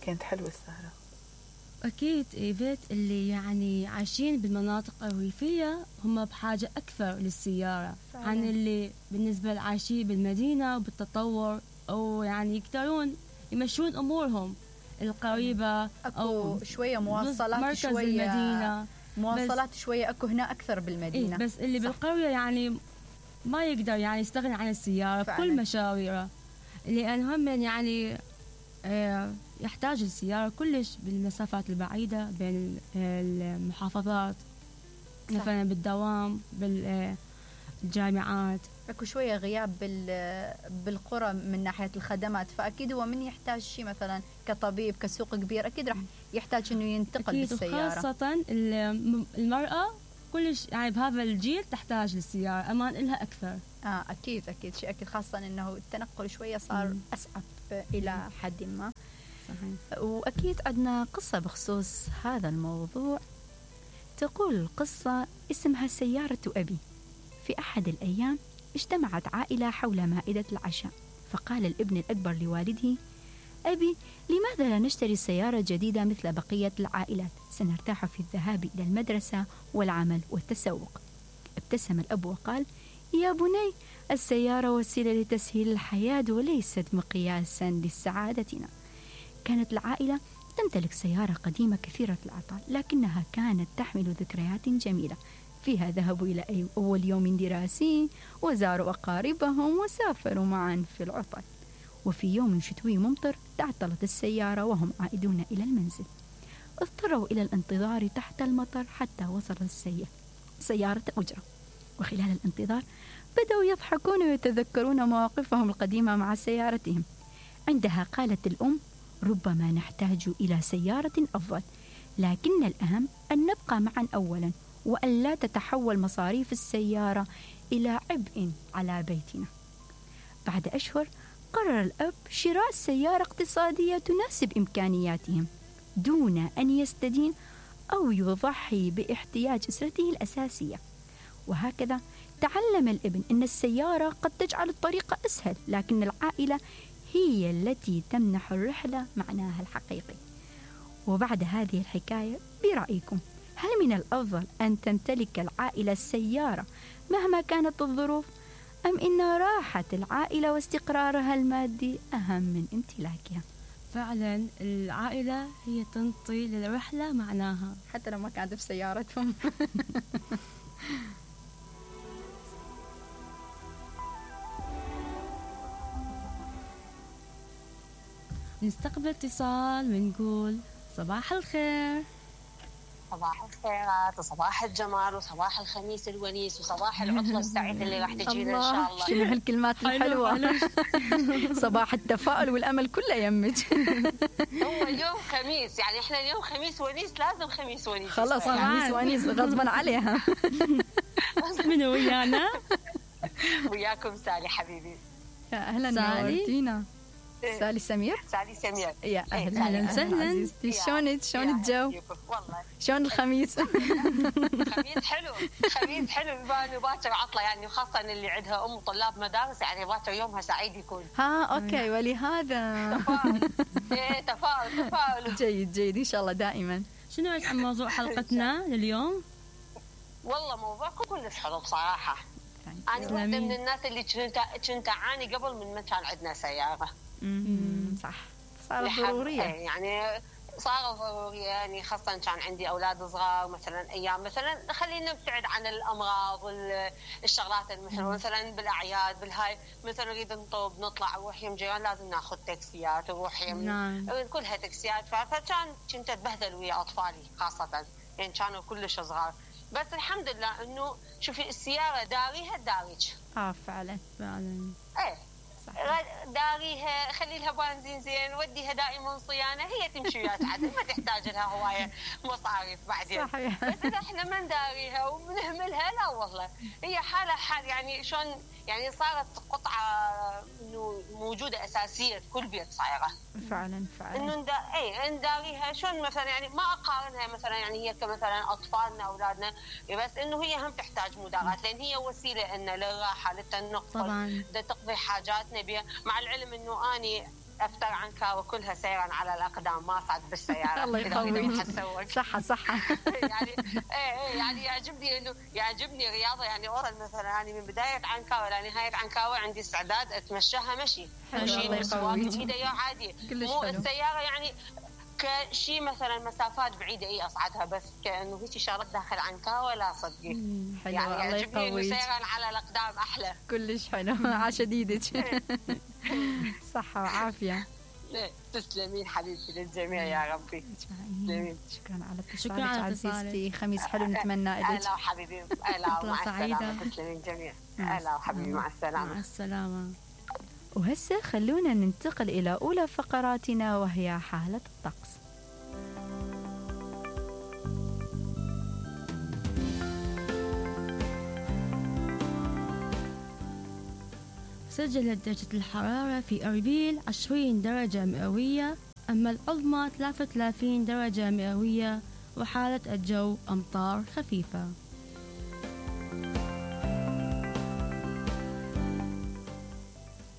كانت حلوة السهرة. أكيد إيفيت اللي يعني عايشين بالمناطق الريفية هم بحاجة أكثر للسيارة فعلا. عن اللي بالنسبة لعايشين بالمدينة وبالتطور، أو يعني يقدرون يمشون أمورهم القريبة أو شوية مواصلات، مركز شوية المدينة، مواصلات شوية أكو هنا أكثر بالمدينة. بس اللي صح. بالقرية يعني ما يقدر يعني يستغني عن السيارة بكل مشاويره، لأن هم يعني يحتاج السيارة كلش بالمسافات البعيدة بين المحافظات، مثلا بالدوام، بالجامعات. اكو شويه غياب بالقرى من ناحيه الخدمات، فاكيد هو من يحتاج شيء مثلا كطبيب كسوق كبير اكيد راح يحتاج انه ينتقل أكيد، بالسياره. خاصه المراه كلش يعني بهذا الجيل تحتاج للسياره، امان لها اكثر. اكيد شيء اكيد، خاصه انه التنقل شويه صار اصعب الى حد ما. صحيح. واكيد عندنا قصه بخصوص هذا الموضوع. تقول القصه اسمها سياره ابي. في أحد الأيام اجتمعت عائلة حول مائدة العشاء، فقال الابن الأكبر لوالده: أبي، لماذا لا نشتري سيارة جديدة مثل بقية العائلات؟ سنرتاح في الذهاب إلى المدرسة والعمل والتسوق. ابتسم الأب وقال: يا بني، السيارة وسيلة لتسهيل الحياة وليست مقياسا لسعادتنا. كانت العائلة تمتلك سيارة قديمة كثيرة العطاء، لكنها كانت تحمل ذكريات جميلة. فيها ذهبوا إلى أول يوم دراسي، وزاروا أقاربهم، وسافروا معا في العطل. وفي يوم شتوي ممطر تعطلت السيارة وهم عائدون إلى المنزل. اضطروا إلى الانتظار تحت المطر حتى وصلت سيارة أجرة. وخلال الانتظار بدأوا يضحكون ويتذكرون مواقفهم القديمة مع سيارتهم. عندها قالت الأم: ربما نحتاج إلى سيارة أفضل، لكن الأهم أن نبقى معا أولا، وأن لا تتحول مصاريف السيارة إلى عبء على بيتنا. بعد أشهر قرر الأب شراء سيارة اقتصادية تناسب إمكانياتهم، دون أن يستدين أو يضحي باحتياج أسرته الأساسية. وهكذا تعلم الابن أن السيارة قد تجعل الطريق أسهل، لكن العائلة هي التي تمنح الرحلة معناها الحقيقي. وبعد هذه الحكاية برأيكم، هل من الأفضل أن تمتلك العائلة السيارة مهما كانت الظروف، أم إن راحة العائلة واستقرارها المادي أهم من امتلاكها؟ فعلا العائلة هي تنطي للرحلة معناها، حتى لو ما كانت في سيارتهم. نستقبل اتصال ونقول صباح الخير. صباح الخيرات وصباح الجمال وصباح الخميس الونيس وصباح العطلة السعيدة اللي راح تجينا إن شاء الله. شنو هالكلمات الحلوة. صباح التفاؤل والأمل كله يمك. هو اليوم خميس، يعني إحنا اليوم خميس ونيس، لازم خميس ونيس. خلاص خميس ونيس غصبا عليها. من ويانا؟ وياكم سالي حبيبي. يا أهلا نورتينا. سالي سمير. سالي سمير. يا أهلا وسهلا. شلونك؟ شلون الجو؟ والله شلون الخميس؟ خميس حلو، خميس حلو. باكر عطلة يعني، وخاصة اللي عندها أم طلاب مدارس يعني باكر يومها سعيد يكون. أوكي، ولهذا تفاؤل. جيد إن شاء الله دائما. شنو عن موضوع حلقتنا لليوم؟ والله موضوعكم كلش حلو بصراحة. أنا واحدة من الناس اللي كنت أعاني قبل من ما كان عندنا سيارة. صح، صارت ضرورية يعني، صارت ضرورية يعني، خاصة كان عندي أولاد صغار مثلا، أيام مثلا خلينا نبتعد عن الأمراض والشغلات المحلوة مثلا بالأعياد بالهاي، مثلا نريد نطب نطلع نروح يم جيران لازم ناخذ تاكسيات ونروح يم كلها تاكسيات، كنت أتبهدل ويا أطفالي خاصة يعني كانوا كلش صغار. بس الحمد لله إنه شوفي السيارة داريها داريج. فعلا إيه داريها، خلي لها بنزين زين، وديها دائما صيانه، هي تمشي وياك عدل، ما تحتاج لها هوايه مصاريف بعدين. صحيح. بس اذا احنا ما نداريها وبنهملها لا والله، هي حال يعني شلون يعني، صارت قطعه انه موجوده اساسيه في كل بيت صايره. فعلا انه نداريها شلون مثلا يعني، ما اقارنها مثلا يعني هي كمثلا اطفالنا اولادنا، بس انه هي هم تحتاج مداراة، لان هي وسيله لنا للراحه للتنقل، طبعا تقضي حاجاتنا بها. مع العلم انه اني افتر عنكاوي كلها سيرا على الاقدام، ما صعد بالسياره. الله يقويك. صح يعني يعني يعجبني رياضه يعني اورال مثلا، يعني من بدايه عنكاوي لنهايه عنكاوي عندي استعداد اتمشاها مشي مسواق بايدي عادي، مو السياره يعني كشيء مثلا مسافات بعيده اصعدها، بس كانه هيك شغلات داخل عنكاوي لا صدقي. يعني يعجبني انه سيرا على الاقدام احلى. كلش حلو. عاشديدك. صحه وعافيه. تسلمين حبيبتي للجميع يا ربي. تسلمين. شكرا على اتصالك عزيزتي. خميس حلو نتمنى لك. اهلا وحبيبي. اهلا ومع السلامه. تسلمين جميع. اهلا وحبيبي مع السلامه. مع السلامه. وهسه خلونا ننتقل إلى أولى فقراتنا وهي حالة الطقس. سجلت درجة الحرارة في أربيل 20 درجة مئوية، أما العظمى 33 درجة مئوية، وحالة الجو أمطار خفيفة.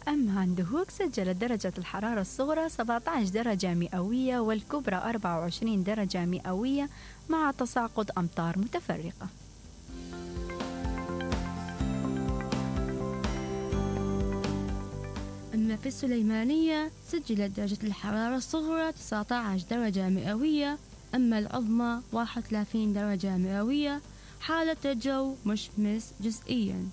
أما عند هوك سجلت درجة الحرارة الصغرى 17 درجة مئوية والكبرى 24 درجة مئوية مع تساقط أمطار متفرقة. أما في السليمانية سجلت درجة الحرارة الصغرى 19 درجة مئوية، أما العظمى 31 درجة مئوية، حالة الجو مشمس جزئياً.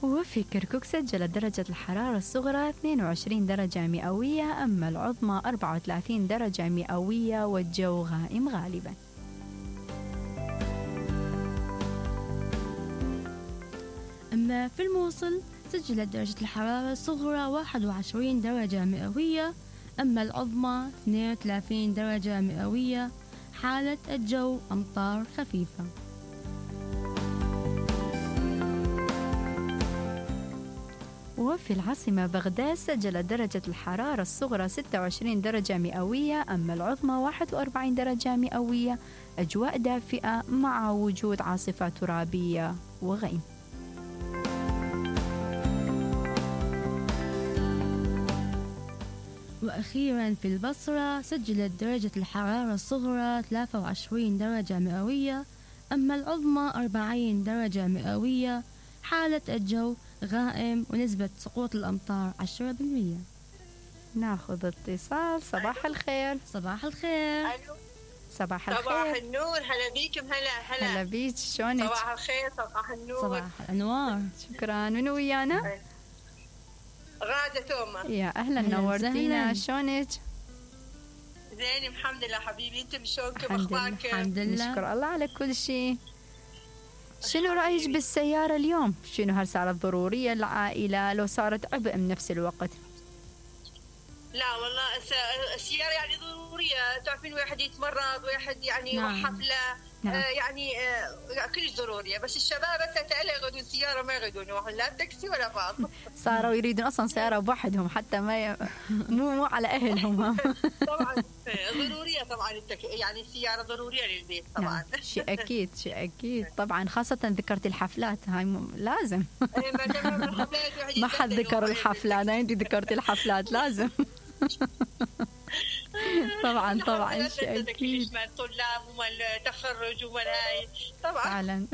وفي كركوك سجلت درجة الحرارة الصغرى 22 درجة مئوية، أما العظمى 34 درجة مئوية والجو غائم غالباً. أما في الموصل سجلت درجة الحرارة الصغرى 21 درجة مئوية، أما العظمى 32 درجة مئوية، حالة الجو أمطار خفيفة. وفي العاصمة بغداد سجلت درجة الحرارة الصغرى 26 درجة مئوية، أما العظمى 41 درجة مئوية، أجواء دافئة مع وجود عاصفة ترابية وغيم. وأخيرا في البصرة سجلت درجة الحرارة الصغرى 23 درجة مئوية، أما العظمى 40 درجة مئوية، حالة الجو غائم ونسبة سقوط الأمطار 10%. ناخذ اتصال. صباح الخير. صباح الخير. صباح الخير. صباح النور. هلا بيكم. هلا بيك. شلونك؟ صباح الخير. صباح النور. صباح الأنوار. شكرا. منو ويانا؟ غادة توما. يا أهلا نورتينا. شلونك؟ زين الحمد لله حبيبي. انتم شلونكم؟ اخباركم؟ الحمد لله. نشكر الله على كل شيء. شنو رأيك بالسيارة اليوم؟ شنو هل صارت ضرورية للعائلة لو صارت عبء بنفس الوقت؟ لا والله السيارة يعني ضرورية. تعرفين واحد يتمرض، واحد يعني نعم. حفلة. نعم. يعني كلش ضرورية. بس الشباب هسه يغدون سيارة، ما يغدون يروحون لا تاكسي ولا باص. صاروا يريدون أصلا سيارة بوحدهم حتى ما مو على أهلهم. طبعا ضرورية طبعا يعني السيارة ضرورية للبيت طبعا. نعم. شيء أكيد طبعا، خاصة ذكرت الحفلات هاي لازم. ما حد ذكر الحفلات، أنا عندي ذكرت الحفلات لازم. طبعا شيء أكيد. مال الطلاب ومال التخرج ومال هاي طبعا.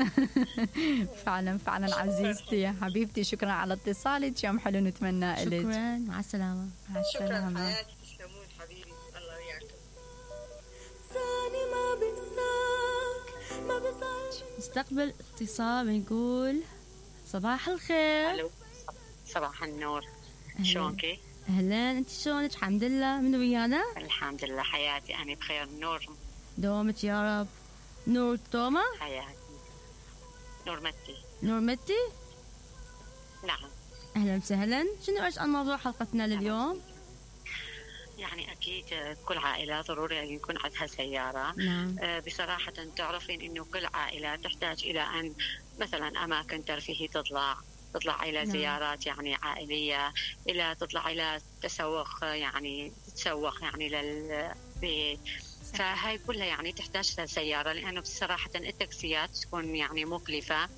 فعلا عزيزتي يا حبيبتي. شكرا على اتصالك. يوم حلو نتمنى لك. شكرا. مع السلامة. مع السلامة. شكرا حياتي. تسلمون حبيبي. الله وياكم. نستقبل اتصال ونقول صباح الخير. الو. صباح النور. شلونكي؟ أهلا. أنت شلونك؟ الحمد لله. من ويانا؟ الحمد لله حياتي. أنا بخير. نور. دومك يا رب. نور توما. حياتي. نور متي. نور متي. نعم. أهلا وسهلا. شنو إيش عن موضوع حلقتنا لليوم؟ يعني أكيد كل عائلة ضروري أن يكون عندها سيارة. نعم. بصراحة تعرفين إنه كل عائلة تحتاج إلى أن مثلا أماكن ترفيهي تطلع إلى زيارات يعني عائلية، إلى تطلع إلى تسوق يعني تتسوق يعني للبيت. فهاي كلها يعني تحتاج سيارة، لأنه بصراحة التاكسيات تكون يعني مكلفة.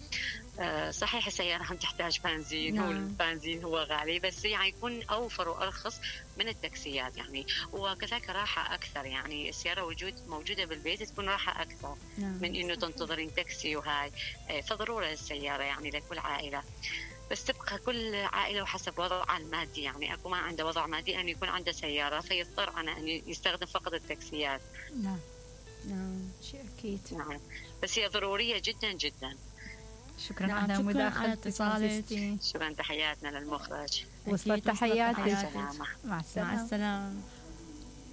صحيح السيارة هم تحتاج بنزين، نعم. والبنزين هو غالي، بس يعني يكون أوفر وأرخص من التاكسيات يعني، وكذلك راحة أكثر يعني. السيارة موجودة بالبيت تكون راحة أكثر نعم. من إنه تنتظرين تاكسي وهاي. فضرورة السيارة يعني لكل عائلة، بس تبقى كل عائلة وحسب وضعها المادي يعني. أكو ما عنده وضع مادي أن يكون عنده سيارة فيضطر أن يستخدم فقط التاكسيات. نعم نعم. شيء أكيد. نعم، بس هي ضرورية جدا جدا. شكرا نعم، على شكراً على مداخلتك اتصالك. عزيزتي. شكرا، تحياتنا للمخرج. وصلت تحياتك. مع السلامة. مع مع السلامة. السلامة.